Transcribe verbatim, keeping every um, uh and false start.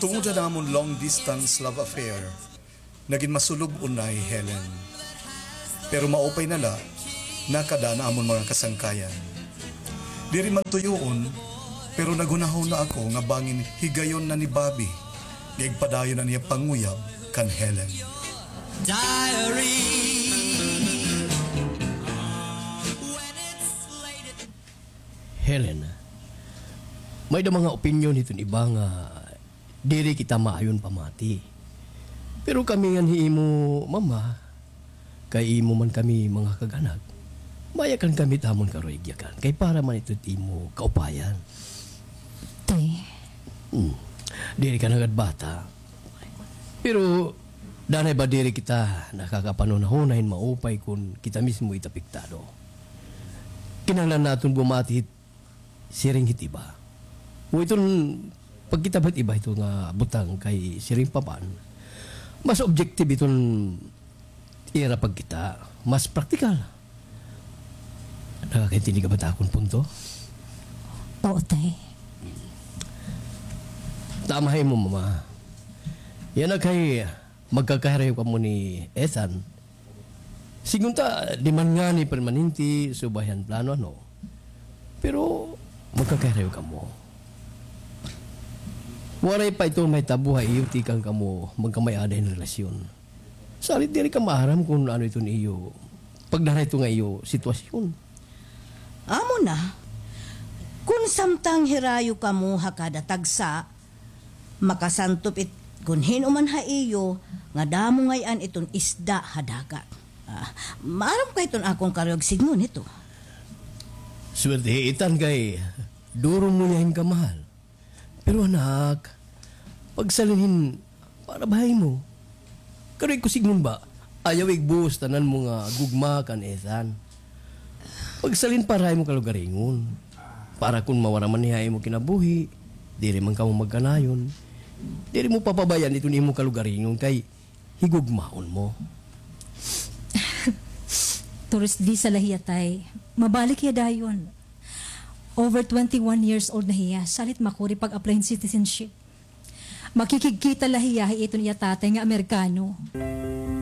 Tungod han amon long distance love affair, nagin masulob-on na hi Helen. Pero maupay na la, nakada na amon mga kasangkayan. Diri man tuyoon, pero naghunahuna ako nga bangin higayon na ni Bobby nga igpadayon an iya panguyab kan Helen. Diary. Helen, may-ada mga opinyon hiton iba nga diri kita maayon pamati. Pero kami ngan hi imo mama, kay imo man kami mga kag-anak, mayakan kami it amon karuyag-yakan, kay para man ito it imo kaupayan. Tay. Hmm. Diri ka na gad bata. Pero, danay ba diri kita nakakapanhunahuna hin maupay kon kita mismo it apektado? Kinahanglan naton bumati hit siring hit iba. O iton pagkita ba hit iba hito nga butang kay siring pa man, mas objective iton ira pagkita, mas praktikal. Nakakaintindi ka ba ta akon punto? Oo, tay. Tama ha imo mama. Yana kay magkakahirayo kamo ni Ethan. Sigon ta, di man ngani permanente, subay han plano, ano. Pero, magkakahirayo kamo. Waray pa ito mahitabo ha iyo tikang kamo magkamay-ada hin relasyon. Salit diri ka maaram kon ano iton iyo, pagdara hito nga iyo sitwasyon. Amo na, kon samtang hirayo kamo ha kada tagsa, makasantop it kon hin-o man ha iyo nga damo ngay-an iton isda ha dagat. Ah, maaram ka iton akon karuyag sidngon hito. Swerte hi Ethan kay duro mo niya hin kamahal. Pero anak, pagsalin hin para ba ha imo. Karuyag ko sidngon ba, ayaw igbuhos tanan mo nga gugma kan Ethan. Pagsalin para ha imo kalugaringon. Para kon mawara man hiya ha imo kinabuhi, diri man kamo magkanayon. Diri mo papabay-an iton imo kalugaringon kay higugmaon mo. Tourist visa la hiya, tay. Mabalik hiya dayon. Over twenty-one years old na hiya, salit makuri pag-apply hin citizenship. Makikigkita la hiya ha iton iya tatay nga Amerikano.